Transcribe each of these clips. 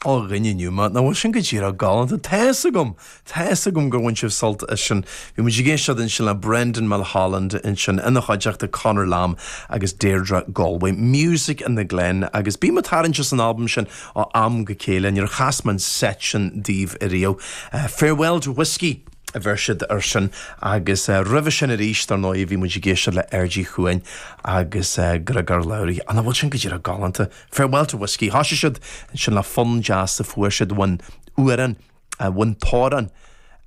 Ó a dhuine inniu mé, nach bhfuil sin go díreach galánta? Tá fhios agam! Tá fhios agam gur bhain sibh sult as sin. Bhí muid ag éisteacht ansin le Brendan Mulholland ansin ina chuideachta Conor Lamb agus Deirdre Galway, Music in the Glen agus bím ag tarraingt as an albam sin ó am go chéile, níor chas mé an seit sin daoibh ariamh. Farewell to Whiskey a bheir siad air sin agus roimhe sin arís, dar ndóigh, bhí muid ag éisteacht le Aird Uí Chuain agus Griogair Labhruidh. An bhfuil sin go díreach galánta? Farewell to Whiskey. Thoisigh siad ansin le fonn deas a fuair siad ón amhrán, ón t-amhrán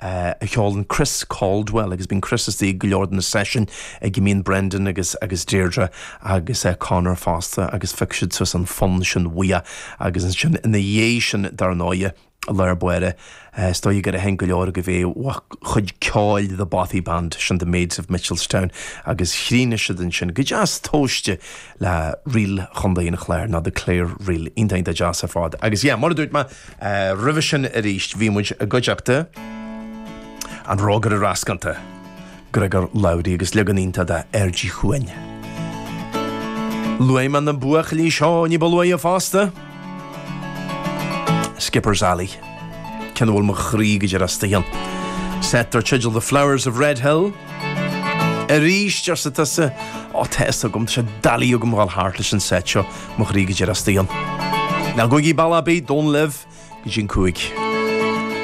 a cheolann Chris Caldwell agus bíonn Chris istigh ag go leor de na seisiúin ag a mbíonn Brendan agus agus Deirdre agus Conor fosta agus phioc siad suas an fonn sin uaidh agus ansin ina dhiaidh sin dar ndóighe I lár báire, is dóigh gur aithin go leor agaibh é ó chuid ceoil The Bothy Band, sin The Maids of Mitchelstown, agus chríochnaigh siad ansin go deas tomhaiste le Ríl Chontae an Chláir, nó The Clare Reel. Iontach, iontach deas ar fad. Agus yeah, mar a dúirt mé roimhe sin arís, bhí muid i gcuideachta an Rógaire Rascanta. Griogar Labhruidh agus leagan iontach de Aird Uí Chuain. Luaigh mé na buachaillí seo ní ba luaithe fosta. Skipper's Alley. Ceann a bhfuil mo chroí go díreach istigh ann. Seit dar teideal The Flowers of Red Hill. Arís, arsa tusa, Ó, tá fhios agam, tá sé doiligh agam dhul thart leis an seit seo, mo chroí go díreach istigh ann. Ná gabhaigí bealach ar bith, don't live go dtí an 5.